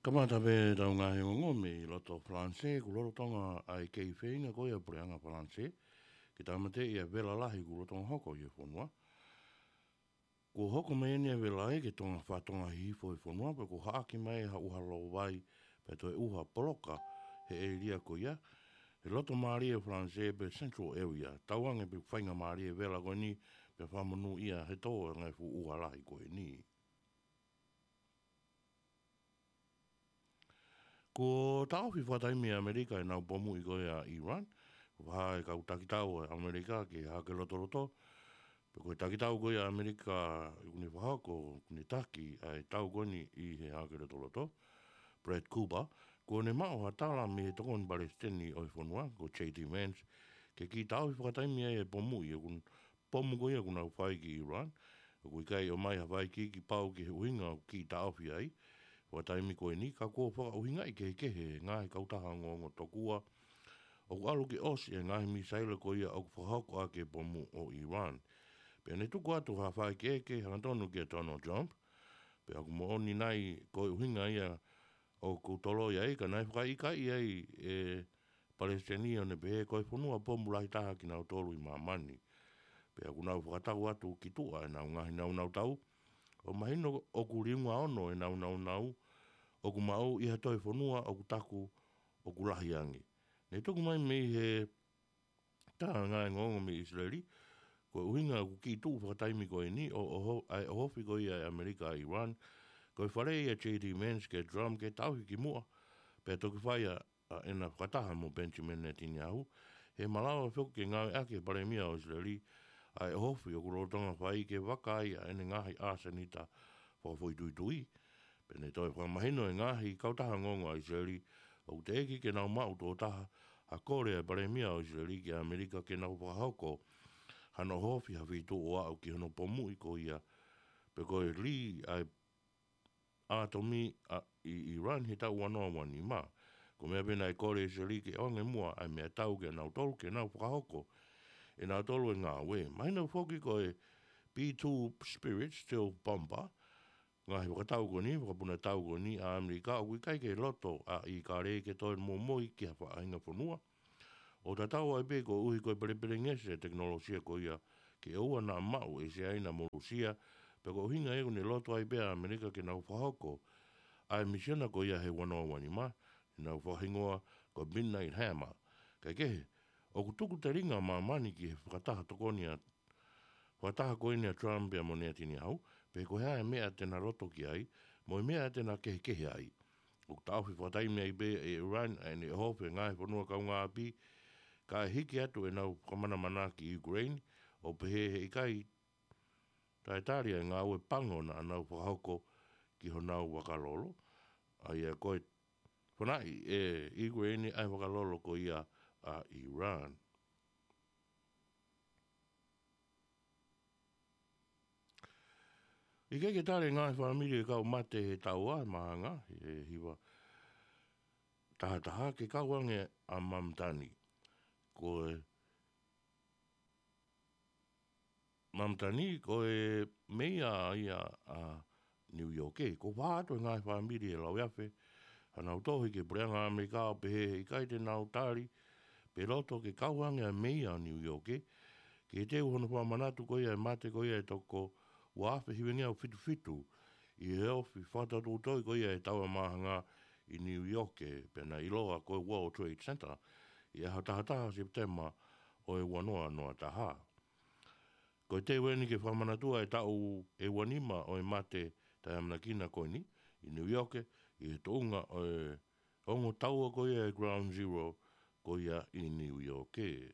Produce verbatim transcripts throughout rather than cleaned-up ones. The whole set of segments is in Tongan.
Kamata pē ʻetau ngaahi ongoongo mei loto Falanisē, kuo lolotonga ʻa e kei feinga ko ia ʻa e puleʻanga Falanisē ke tāmateʻi ʻa e vela lahi kuo lolotonga hoko ʻi he fonua. Kuo hoko mai eni ʻa e vela lahi ke tonga fatongia hifo ʻi he fonua, pea kuo haʻaki mai ha ʻuha lovai, pea toe ʻuha poloka he ʻēlia ko ia. He loto mālie ʻo Falanisē pe Central Area, tauange pē faingamālie ʻa e vela ko eni, pea fakamonūʻia he tō ʻa e ngaahi fuʻu ʻuha lahi ko eni. Kuo taʻofi fakataimi ʻe ʻAmelika ʻenau pomuʻi ko ia ʻa ʻIran. Kuo fakahā ʻe he kau takitau ʻa ʻAmelika ki he Hahake Lotoloto, pe ko e takitau ko ia ʻa ʻAmelika ʻoku ne fakahoko, ʻoku ne taki ʻa e tau ko eni ʻi he Hahake Lotoloto, Brad Cooper, kuo ne maʻu ha tala mei he tokoni palesiteni ʻo e fonua, ko J D Vance, ke kiʻi taʻofi fakataimi ai e pomuʻi ʻoku pomu ko ia ʻoku nau fai ki ʻIran. ʻOku ʻikai ʻomai ha faʻa ikiiki pau ki he ʻuhinga ʻoku kiʻi taʻofi ai fakataimi ko eni, ka kuo fakaʻuhingaʻi kehekehe ʻe he ngaahi kautaha ongoongo tokua ʻoku ʻalu ke ʻosi e ngaahi misaila ko ia ʻoku fakahoko ʻaki e pomu ʻo ʻIran. Pea ne tuku atu ha faʻa ʻekeʻeke hangatonu kia Donald Trump, pea ʻoku moʻoni nai ko e ʻuhinga ia ʻoku toloi ai, ka naʻe fakaʻikaiʻi ai ʻe he palesiteni ʻo ne pehē ko e fonua pomu lahi taha kinautolu ʻi māmani. Pea ʻoku nau fakatau atu ki tuʻa ʻenau ngaahi nāunau tau, ʻo mahino ʻoku liunga ono ʻenau nāunau ʻoku maʻu ʻi ha toe fonua ʻoku taku ʻoku lahi ange. Ne tuku mai mei he tā ngaahi ongoongo mei ʻIsileli, ko e ʻuhinga ʻoku kiʻi tuʻu fakataimi ko eni ʻo, ʻo, ʻa e ʻohofi ko ia ʻe ʻAmelika ʻa ʻIran, ko e faleʻi ʻa J D Vance kia Trump ke taʻofi ki muʻa, pea toki fai ʻa ʻa ʻena fakataha mo Benjamin Netanyahu, he malava foki ke ngāueʻaki ʻe he palēmia ʻo ʻIsileli ʻa e ʻohofi ʻoku lolotonga fai ke vaka ai ʻa ʻene ngaahi ʻāsenita fakafoʻituitui. Pea ne toe fakamahino ʻe he ngaahi kautaha ongoongo ʻa ʻIsileli ʻoku teʻeki ke nau maʻu tuʻo taha ha kole ʻa e palēmia ʻo ʻIsileli kia ʻAmelika ke nau fakahoko hano ʻohofi ha feituʻu ʻo aʻu ki hono pomuʻi ko ia, pe ko e lī ʻa e ʻātomi ʻa, ʻi, ʻi ʻIran he taʻu ua noa ua nima. Ko e meʻa pē naʻe kole ʻe ʻIsileli ke ʻoange muʻa ʻa e meʻatau kia nautolu ke nau fakahoko ʻe nautolu e ngāue. Mahino foki ko e B two Spirit stealth bomber, ngaahi fakatau ko eni, fakapuna tau ko eni ʻa ʻAmelika ʻoku ʻikai ke loto ʻa ʻIkale ke toe momoi ki ha faʻahinga fonua. ʻO tatau ai pē koeʻuhi ko e pelepelengesi e tekinolosia ko ia ke ʻoua naʻa maʻu ʻe Siaina mo Lūsia, pea ko e ʻuhinga ia ʻoku ne loto ai pē ʻa ʻAmelika ke nau fakahoko ʻa e misiona ko ia he ua noa ua nima, ʻenau fakahingoa ko e Midnight Hammer. Kae kehe, ʻoku tuku telinga ʻa māmani ki he fakataha tokoni ʻa fakataha ko eni ʻa Trump pea mo Netanyahu, pe ko e hā e meʻa te na loto ki ai, mo e meʻa te na kehekehe ai. ʻOku taʻofi fakataimi ai pē ʻe ʻIran ʻa ʻene ʻohofi e ngaahi fonua kaungāʻapi, kae hiki atu ʻenau fakamanamana ki Ukraine, ʻo pehē he ʻikai taʻetali ʻa e ngāue pango naʻa nau fakahoko ki honau vakalolo, ʻa ia ko e fanaʻi ʻe Ukraine ʻa e vakalolo ko ia ʻa ʻIran. ʻIkai ke tali e ngaahi fāmili ʻo e kau mate he taua ʻe Māhanga, ʻe hiva taha taha ke kau ange ʻa Mamatani. Ko e Mamatani, ko e meia ia ʻa Niu ʻIoke. Kuo fā atu e ngaahi fāmili ʻe lauiafe hanau tohi ki he puleʻanga ʻAmelika ʻo pehē he ʻikai te nau tali pe loto ke kau ange ʻa e meia ʻo Niu ʻIoke ki he teu hono fakamanatu ko ia e mate ko ia ʻe toko ua afe hivangeau fitu fitu ʻi he ofi fakatotoutoʻi ko ia e taua Māhanga ʻi Niu ʻIoke, pea naʻe ʻiloa ko e World Trade Center, ʻi he ʻaho taha taha Sepitema ʻo e ua noa noa taha. Ko e teu eni ke fakamanatu ʻa e taʻu ʻe ua nima ʻo e mate taʻeʻamanekina ko eni ʻi Niu ʻIoke, ʻi he tuʻunga ʻo e ongo taua ko ia e Ground Zero ko ia ʻi Niu ʻIoke.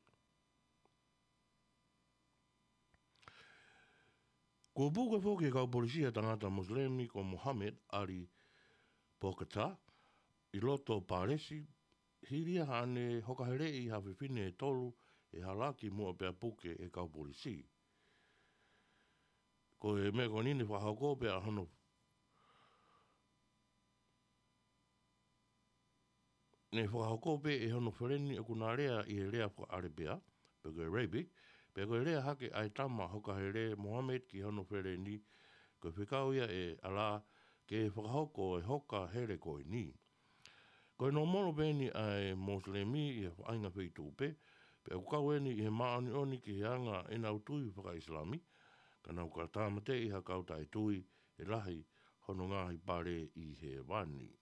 Kuo puke foki ʻe he kau polisi ʻa e tangata Mosilemi ko Mohamed Ali Bokata ʻi loto Pālesi, hili ia haʻane hokaheleʻi ha fefine ʻe tolu ʻi he hala kimuʻa pea puke ʻe he kau polisi. Ko e meʻa ko eni ne fakahoko pē ʻa hono, ne fakahoko pē ʻe hono feleni ʻoku na lea ʻi he lea faka-ʻAlepea, pe ko e Arabic, pea ko e lea hake ʻa e tama hokahele Mohamed ki hono feleni, ko e fekau ia ʻe Allah ke fakahoko e hoka hele ko eni. Ko e nōmolo pē ʻeni ʻa e Mosilemi ʻi he faʻahinga feituʻu pē, pea ʻoku kau ʻeni ʻi he māʻoniʻoni ki he anga ʻenau tui fakaʻIsilami, ka nau ka tāmateʻi ha kau taʻetui ʻe lahi hono ngaahi pale ʻi hēvani.